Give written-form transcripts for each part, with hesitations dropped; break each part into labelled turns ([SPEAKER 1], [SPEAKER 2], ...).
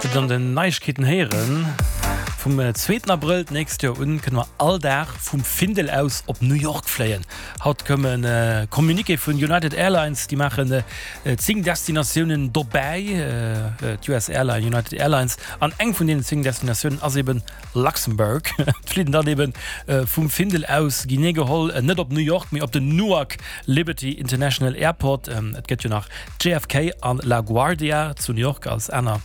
[SPEAKER 1] Dir hutt an den Neiegkeeten héieren, Vum zweeten Abrëll d'nächst Joer un kënne mer all Dag vum Findel aus op New York fléien. Haut koum e Communiqué vun United Airlines, déi maachen 10 Destinatiounen dobäi, d'US Airline United Airlines, an eng vun deenen 10 Destinatiounen ass eben Luxembourg. D'Fliiten dann eben vum Findel aus genee geholl net op New York, mee op den Newark Liberty International Airport. Et gëtt jo nach JFK an La Guardia zu New York als aner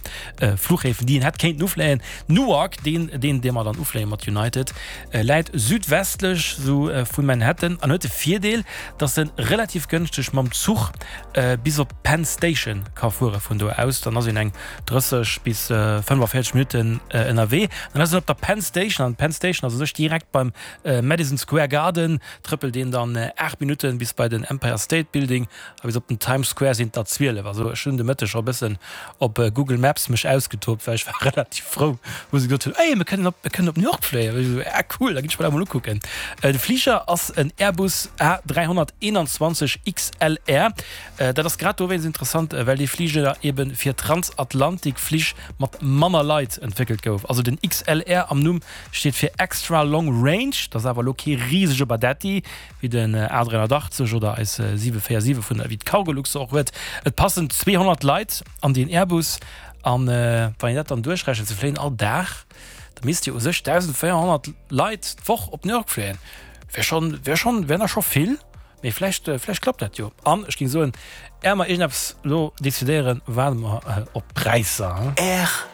[SPEAKER 1] Fluchhäfen, déi een hätt kéinten ufléien. Newark, deen, deen, dee mer dann ufléie mat United, läit südwestlech sou vu Manhattan an huet de Virdeel, dass en relativ gënschteg mam Zuch bis op d'Penn Station ka fuere vun do aus. Dann ass een eng 30 bis 45 Minutten ënnerwee. Dann ass een op der Penn Station an d'Penn Station ass u sech direkt beim Madison Square Garden. Trëppelt een dann 8 Minutten bis bei den Empire State Building a bis op den Times Square sinn et der 12. Also ech hunn de Mëtteg scho e bëssen op Google Maps mech ausgetobt, well ech war relativ frou, wou se gesot hunn, Ey, mir kënnen op, mir kënnen op New York fléien. Ech esou, Ah cool, da ginn ech mer dat emol ukucken. De Fliger ass en Airbus A321 XLR. Dat ass grad dowéinst interessant, well dee Fliger ebe fir Transatlantikflich mat manner Leit entwéckelt gouf. Also den XLR am Numm steet fir Extra Long Range, dat ass awer elo kee risege Badetti wéi den A380 oder eis 747 vun wéi d'Cargolux se och huet. Et passen 200 Leit an deen Airbus an wann een dat dann duerchrechent, se fléien all Dag, da misst jo u sech 1.400 Leit d'Woch op New York fléien. Wär schonn, wär schonn, wär nach scho vill. Mee vläicht, vläicht klappt dat jo. An ech géing soen, är mer iergendeppes elo decidéieren, waarde mer op d'Präisser.
[SPEAKER 2] R.